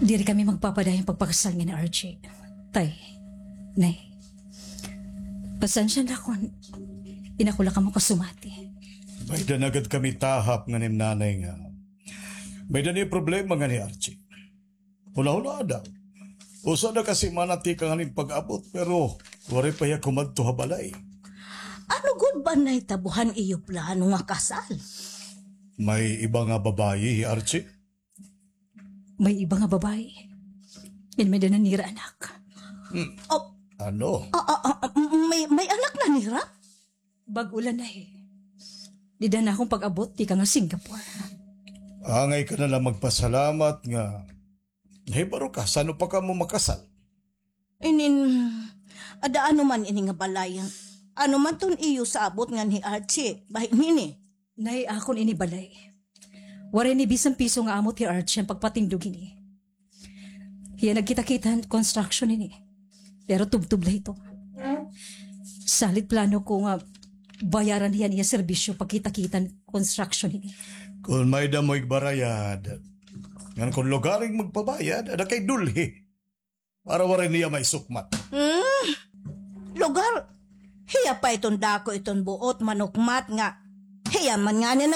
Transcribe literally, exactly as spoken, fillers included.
Diri kami magpapadayon pagpakasal nga ni Archie. Tay, Nay, pasensya na kon inako la kamo kasumati. May-ada na gad kami tahap ngan im nanay nga may-ada ni problema ngan hi Archie. Hula-hula daw. Usa na ka semana tikang han im pag-abot, pero waray pa hiya kumadto ha balay. Ano gud ba nahitabo han iyo plano nga kasal? May iba nga babayi hi Archie? May iba nga babayi. Ngan may-ada na nira anak. Hmm. Oh. Ano? Ah, ah, ah, may, may anak na nira? Bag-o la, Nay. Dida han akon pag-abot tikang ha Singapore. Angay ka na la magpasalamat nga nahibaro ka san-o pa kamo makasal. Inin, ada ano man ini nga balay? Ano man ton iyo sabot ngan hi Archie, bahin hini? Nay, akon ini balay. Waray ini bisan piso nga amot hi Archie han pagpatindog hini. Hiya nagkita-kita han construction hini. Pero tubtob la ito. Salit plano ko nga bayaran hiya an iya serbisyo pagkita-kita han construction hini. Kon may-ada mo igbarayad, ngan kon lugar it magpabayad, ada kay dulhi. Para waray niya maisukmat. Hmm? Lugar? Hiya pa iton dako iton buot manukmat nga hiya man ngani